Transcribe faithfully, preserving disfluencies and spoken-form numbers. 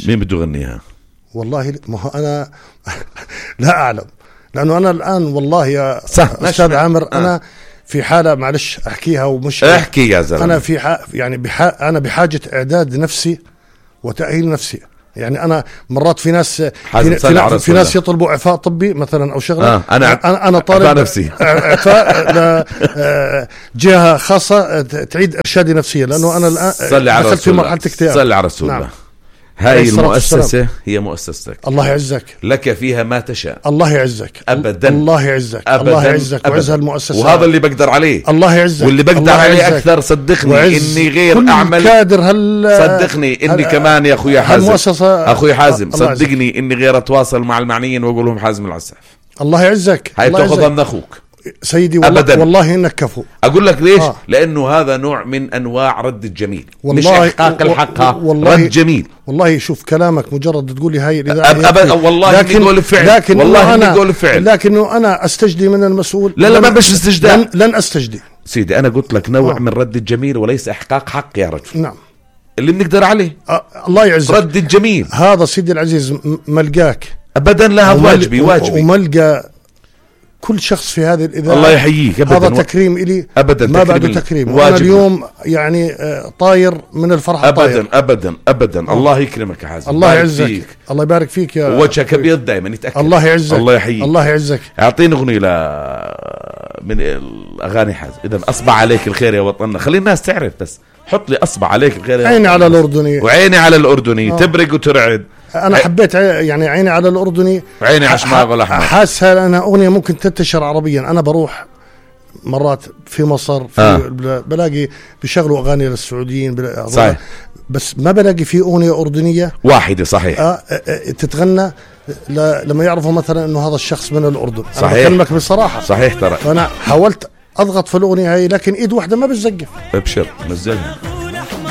مين بده يغنيها؟ والله ما هو أنا لا أعلم، لأنه أنا الآن والله يا أستاذ عامر آه. أنا في حالة معلش أحكيها ومش احكي يا زلمة. أنا في ح... يعني بح... أنا بحاجة إعداد نفسي وتأهيل نفسي. يعني أنا مرات في ناس في, في, في ناس يطلبوا إعفاء طبي مثلا أو شغلة. آه. أنا أنا أنا طالب نفسي إعفاء جهة خاصة تعيد إرشادي نفسيا، لأنه أنا الآن دخلت في مرحلة اكتئاب. صلي على رسول الله. نعم. هاي المؤسسة هي مؤسستك، الله يعزك، لك فيها ما تشاء، الله يعزك أبدا، الله يعزك، أبداً. الله يعزك وعز هالمؤسسة، وهذا اللي بقدر عليه، الله يعزك، واللي بقدر عليه أكثر صدقني إني غير أعمل كادر هل صدقني إني كمان يا أخوي حازم أخوي حازم صدقني إني غير أتواصل مع المعنيين وأقول لهم حازم العساف، الله يعزك، هاي تأخذها من أخوك سيدي والله أبداً. والله إنك كفو. أقول لك ليش؟ آه. لأنه هذا نوع من أنواع رد الجميل، مش إحقاق الحق، رد جميل. والله شوف كلامك مجرد تقولي هاي أبدا والله لكن نقول فعل، لكن والله أنا نقول فعل، لكنه أنا أستجدي من المسؤول. لا لا ما بش استجداء، لن, لن أستجدي سيدي. أنا قلت لك نوع آه. من رد الجميل وليس إحقاق حق يا رجل. نعم اللي بنقدر عليه. آه. الله يعزك، رد الجميل هذا سيدي العزيز ملقاك أبدا. لا هذا واجبي واجبي وملقى كل شخص في هذه الإذاعة. الله يحييك أبداً. هذا تكريم إلي أبدا، ما بعده تكريم. وأنا اليوم يعني طاير من الفرحة أبدا طاير. أبدا أبدا. آه. الله يكرمك يا حازم، الله يعزك، الله يبارك فيك يا وجهك أبيض دائما يتأكد. الله يعزك، الله يحييك، الله يعزك. أعطيني أغنية ل من الأغاني حازم. إذا أصبح عليك الخير يا وطننا، خلي الناس تعرف، بس حط لي أصبح عليك الخير يا عيني على الأردني وعيني على الأردني. آه. تبرق وترعد. أنا حبيت يعني عيني على الأردني وعيني على شماغ الأحمر. حاسها لأنها أغنية ممكن تنتشر عربيا. أنا بروح مرات في مصر في آه. بلاقي بيشغلوا أغاني للسعوديين صحيح، بس ما بلاقي في أغنية أردنية واحدة صحيح آه تتغنى لما يعرفوا مثلا إنه هذا الشخص من الأردن. صحيح، أنا بكلمك بصراحة صحيح ترى. فأنا حاولت أضغط في الأغنية هاي لكن إيد واحدة ما بتزقف. ابشر نزلها.